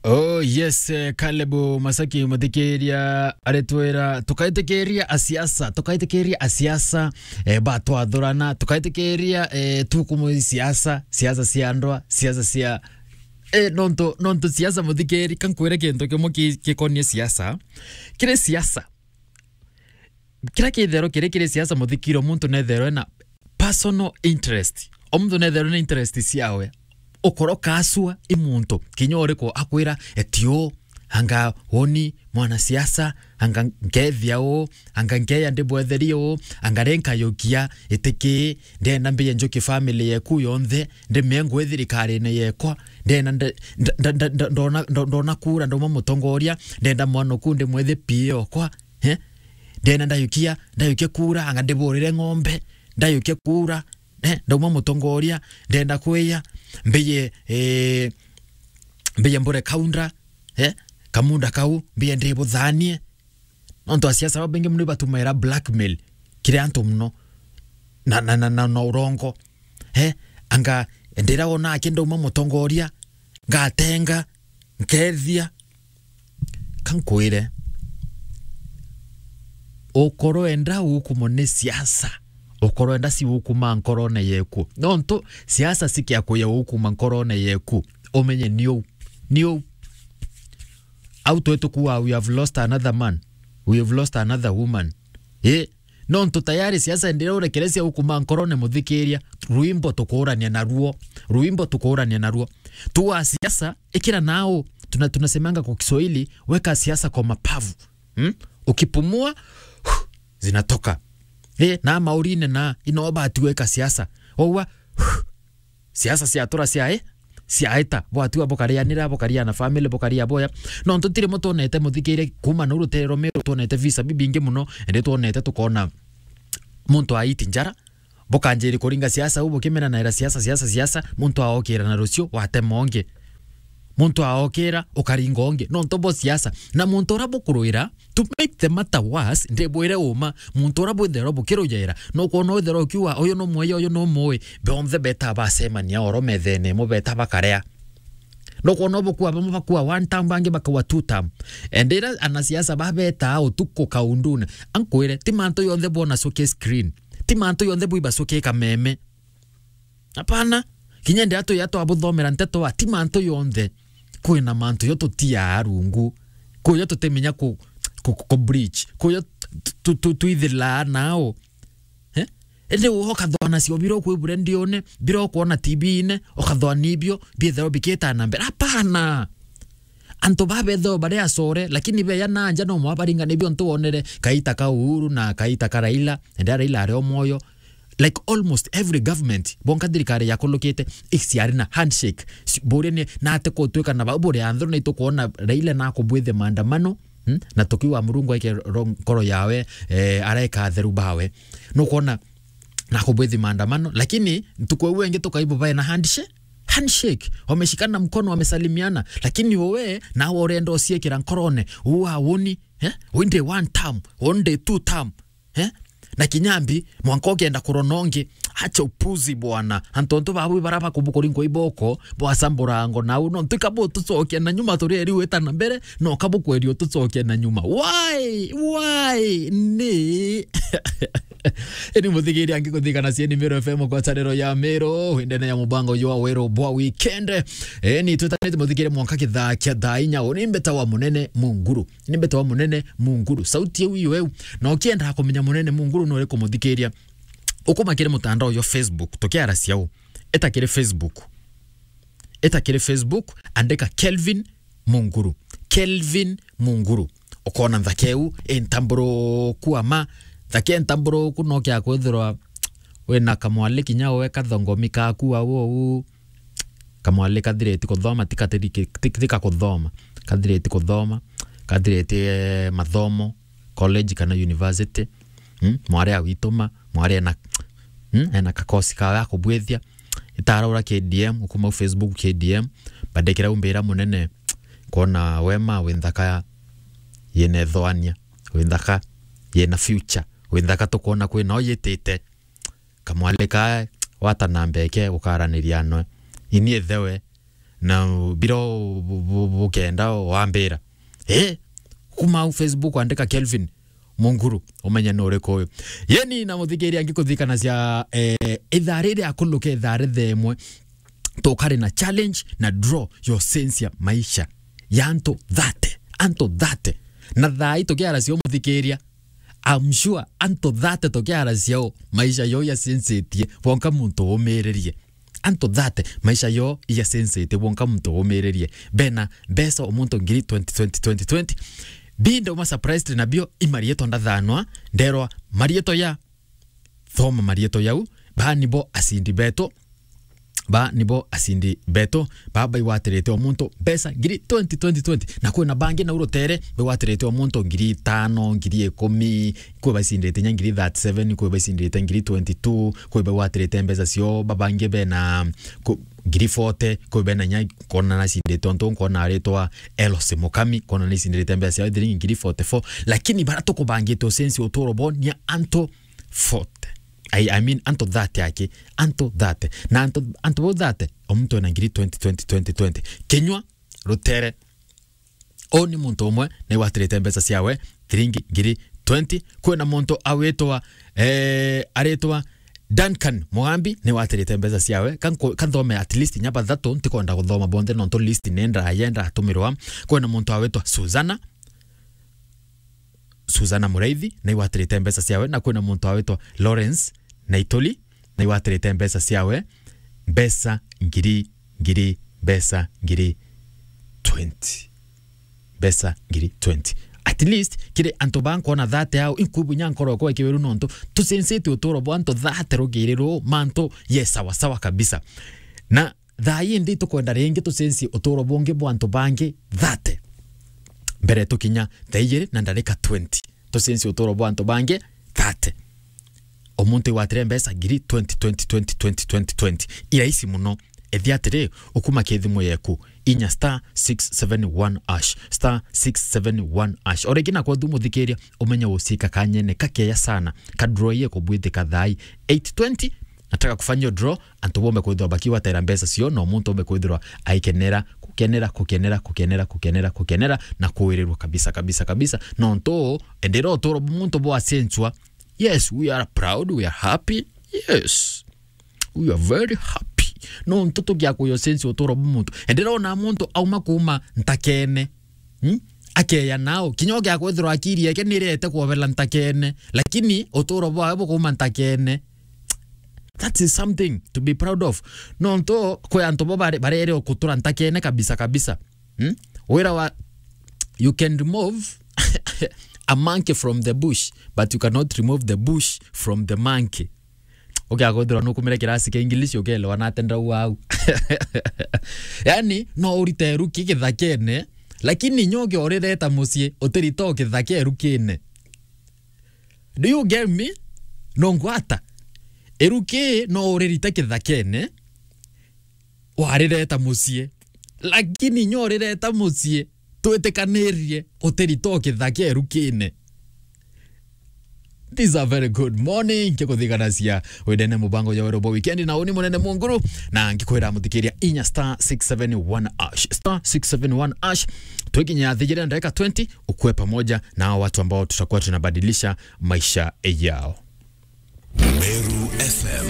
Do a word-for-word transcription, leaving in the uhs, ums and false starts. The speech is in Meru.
Oh yes, eh, Caleb Masaki muthikiria aritwira, tukaitikiria asiasa, tukaitikiria asiasa, eh, batwathurana, tukaitikiria, eh, tukumu siasa, siasa cia ndwa, siasa cia, eh, nontu, nontu siasa muthikiri, kankwire kintu kimwe ki-, gikonie siasa. Kiri siasa, kira kithero kiri, kiri siasa muthikiro, muntu nethero ena personal interest. O muntu nethero na interest ciawe. Ukoro kasua i muntu, kinya uriku akwira, etio, anga woni mwanasiasa, anga nkethia uu, anga nkeya ndibwetherie uu, anga ri nkayukia itiki, ndenda mbie njuki family yeku yonthe, ndimie ngwi thirikarine yekwa, ndenda nde-, nda-, nda-, nda-, nda-, ndona, ndo-, ndona kura ndauma mutongoria, ndenda mwana uku ndimwethe P A okwa, eh? Ndenda ndayukia, ndayukia kura, anga ndiburire ng'ombe, ndayukia kura, eh? Ndauma mutongoria, ndenda kwiya, mbiye, eh, mbiye mbure kaunda, eh? Kamunda kau, mbiye ndibuthanie. Nontu asiasa babaingi muno ibatumaira blackmail kiri antu muno na, na, na, na, na urongo. Eh, anga ndira wona aki ndauma mutongoria, ngatenga, nkethia. Kankwire, ukorwo enda ukumo ni siasa, ukorwo enda si ukuma nkorone yeku. Nontu siasa sikia kuya ukuma nkorone yeku, umenye ni uu, ni uu. Au twe tukua, "We have lost another man. We have lost another woman." Eh, nontu tayari siasa ndire urekerecia ukuma nkorone muthikiria, rwimbo tukurania naruo, rwimbo tukurania naruo. Tua siasa, ikira nao, tuna-, tunasemanga kwa Kiswahili, weka siasa kwa mapavu. Hmm? Ukipumua, zinatoka. Eh, na maurine na, ino bati weka siasa. Owa, siasa ciatura ciae, ciaeta, bwatua bukarianira, bukaria na family, bukaria boya. Nontu tiri mo twonete, muthikiire, kuma nau rutere rwa Meru, twonete visa bibingi muno, ende twonete tukona muntu aiti njara, bukanjiri kuringa siasa u, bukimena naira siasa, siasa, siasa, muntu aokira na rucio, watema ungi. Muntu aokira, ukaringa ungi. Nontu bo siasa. Na muntu ura bukurwira, to make the matter worse, ndibwire uma, muntu ura bwitherwa bukirujera, nukwona witherwa ukiuga, "Uyu numweye, uyu numui," bonthe beta bacemania oro methene imwe, beta bakarea. Nukwona bukua bamwe bakua one term, bangi bakua two term. Endira anasiasa babetaa utuku kaundune. Ankwire, ti mantu yonthe bwona suki screen. Ti mantu yonthe bwiba suki kameme. Hapana. Kinya ndia tuya twabuthomera nteto wa, ti mantu yonthe. Kwina mantu yo tutiaa rungu. Kuyo tutimenya ku, ku, ku, ku breach. Kuyo tu, tu, tu, twithilaa nao. Eh? Indi uho ukathoa nacio bira ukwibure ndione, bira ukwona T V-ine, ukathoa nibio, biethirwa bikita na mbere. Hapana. Antu babethirwa bari acore, lakini beya na nja no mwa baringa nibio ntu wonere kaita ka Uhuru na kaita ka Raila, ende Raila ari o mwoyo. Like almost every government, bonka thirikari yakulukite, iciari na handshake. Si-, buria ni, na ate kutwika na bau buri anthuru na itukwona Raila na kubwithia maandamano, hmm? Na tukiuga Murungu aike ro-, nkoro yawe, eh, areka atheru bawe. Nukwona na kubwithi maandamano, lakini ntuku iu ingi tukaibu bae na handshake, handshake, wameshikana mkono, wamesalimiana, lakini uwe nawe urenda uciikira nkorone, uu awoni, eh? Uu ndi one term, uu ndi two term, eh? Na kinyambi, mwanka ukienda kurona ungi, acha upuzi bwana. Antu ontu babu bara bakubukuri nkui boko, bwacambura ngo nau, no ntuika butucokia na nyuma, turi eri wita na mbere, no kabukweria utucokia na nyuma. Why? Why? Ni Ini muthikiria angi kuthikana cieni Meru F M kwa chanero ya Meru, indene ya mubango jwa Weru bwa weekend. Eni, twitanite muthikire mwanka kithaa kia thaa inya. Uni mbeta wa munene Munguru. Ni mbeta wa munene Munguru. Sauti iu iyo eu. Na ukienda kumenya munene Munguru no uriku muthikiria, ukuma kiri mutandao jwa Facebook, tukiara ciau. Eta kiri Facebook. Eta kiri Facebook, andika Kelvin Munguru. Kelvin Munguru. Ukona nthaka iu intamburuku ama. Nthaka intamburuku no kia kwithirwa wina kamwali kinya we kathongomi kaku au ou. Kamwali kathiriti kuthoma, ti katiri-, ti-, ti kakuthoma. Kathiriti kuthoma. Kathiriti, eh, mathomo, college kana university. Hmm? Mwari awituma, mwari ena, hmm? Ena kakosi kawe akubwithia. Itaraura K D M, ukuma Facebook K D M, bandikira umbira munene, kwona wema wi nthaka yina ithoania, wi nthaka yina future, wi nthaka tukwona kwina o yitite. Kamwali ka wata na mbeke ukaraniria noe. Ini ithewe, na biro bu-, bu-, bukenda wambira. Eh, kuma au Facebook andika Kelvin Munguru, umenye ni uriku uyu. Yeni na muthikiria ngikuthikanacia, eh, ithaa riri akuluke ithaa rithaa imwe, tukari na challenge na draw ya ucenjia maisha ya antu thirty, antu thirty. Na thaa ii tukiaracia umuthikiria, I'm sure antu thirty tukiaracia u maisha yo yacenjetie, wonka muntu umiririe. Antu thirty, maisha yo yacenjetie, wonka muntu umiririe. Bena mbeca umuntu ngiri twenty, twenty, twenty, twenty. Bi ndauma surprised nabio, i marietwa ndathanwa, nderwa marietwa ya, thoma marietwa yau, ba nibo acindi betu, ba nibo acindi betu, ba baigwatirite o muntu mbeca ngiri twenty, twenty, twenty. Na kwina bangi nau rutere baigwatirite o muntu ngiri itano, ngiri ikumi, kwi baicindite inya ngiri thirty-seven, kwi baicindite ngiri twenty-two, kwi bagwatirite mbeca cio, babangi bena ku-, ngiri forty, kwi bena inya nkona nacindite, ontu nkona aritwa Elos Mukami, nkona nicindite mbeca ciao thiringi ngiri forty-four, lakini bara tukubangite ucenjia uturo bo ni antu forty. I, I mean, antu thirty aki, antu thirty. Na antu, antu bau thirty, o muntu ena ngiri twenty, twenty, twenty, twenty. Kinyua, rutere, u ni muntu umwe naigwatirite mbeca ciawe thiringi ngiri twenty. Kwina muntu awitwa, eh, aritwa Duncan Mugambi, naigwatirite mbeca ciawe. Kanko-, kanthome at least nya bathatu, ntikwenda kuthoma bonthe nontu list ni ndaya, ndatumirwa. Kwina muntu awitwa Susana, Susana Muraithi, naigwatirite mbeca ciawe, na kwina muntu awitwa Lawrence Naituli, naigwatirite mbeca ciawe, mbeca ngiri, ngiri, mbeca ngiri twenty. Mbeca ngiri twenty. At least, kiri antu ba nkona thirty au, inkubu nya nkoro yakwa ikiweru nontu, tucenjete uturo bwa antu thirty rugiri ru, mantu ye sawa sawa kabisa. Na thaa ii ndi tukwenda ringi tucenjie uturo bungi bwa antu bangi thirty. Mbere tukinya thaa ijiri na ndarika twenty. Tucenjie uturo bwa antu bangi thirty. O muntu igwatire mbeca ngiri twenty, twenty, twenty, twenty, twenty, twenty. Irahisi muno. Ethia atiri, ukuma ki thimu yeku, inya star six seven one hash, star six seven one hash. O ringi nakwa tu muthikiria, umenye ucika kanyene kakeya sana. Ka draw ye kubwithika thaa ii eight twenty, nataka kufanya draw, antu bombe kwithirwa bakigwatira mbeca cio, na muntu ombe kwithirwa aikenera, kukenera, kukenera, kukenera, kukenera, kukenera, na kuwirirwa kabisa, kabisa, kabisa. Nontu, endera uturo bu muntu bwacenjua. Yes, we are proud, we are happy. Yes. We are very happy. Nontu tugia kuyocenjia uturo bu muntu. Endera ona muntu auma kuma ntakene. Hmm? Akeya nao. Kinya ugia kwithirwa akiri yake nirete kwobela ntakene. Lakini uturo bwawe bukuma ntakene. That is something to be proud of. Nontu kwi antu bo bare-, barere o kutura ntakene kabisa kabisa. Hmm? Wira wa, you can remove a monkey from the bush, but you cannot remove the bush from the monkey. Ukiaga kwithirwa nukumire kirasi kia English, ukelewa na atenda wau. Yani, no urite ruki kithakene, lakini nyo ukiurireta mucii, utirita o kithake rukine. Do you get me? No ngwata. Iruki no uririte kithakene, warireta mucii. Lakini nyo urireta mucii, twitikanirie utirita o kithake rukine. This is a very good morning. Nkikuthiganacia wendene mubango ya wero bo weekend na uni munene munguru, na ngikwira muthikiria inya star six seven one hash, star six seven one hash. Twikinya thijire ndagika twenty, ukue pamoja na hao watu ambao tutakuwa tunabadilisha maisha yao. Meru F M.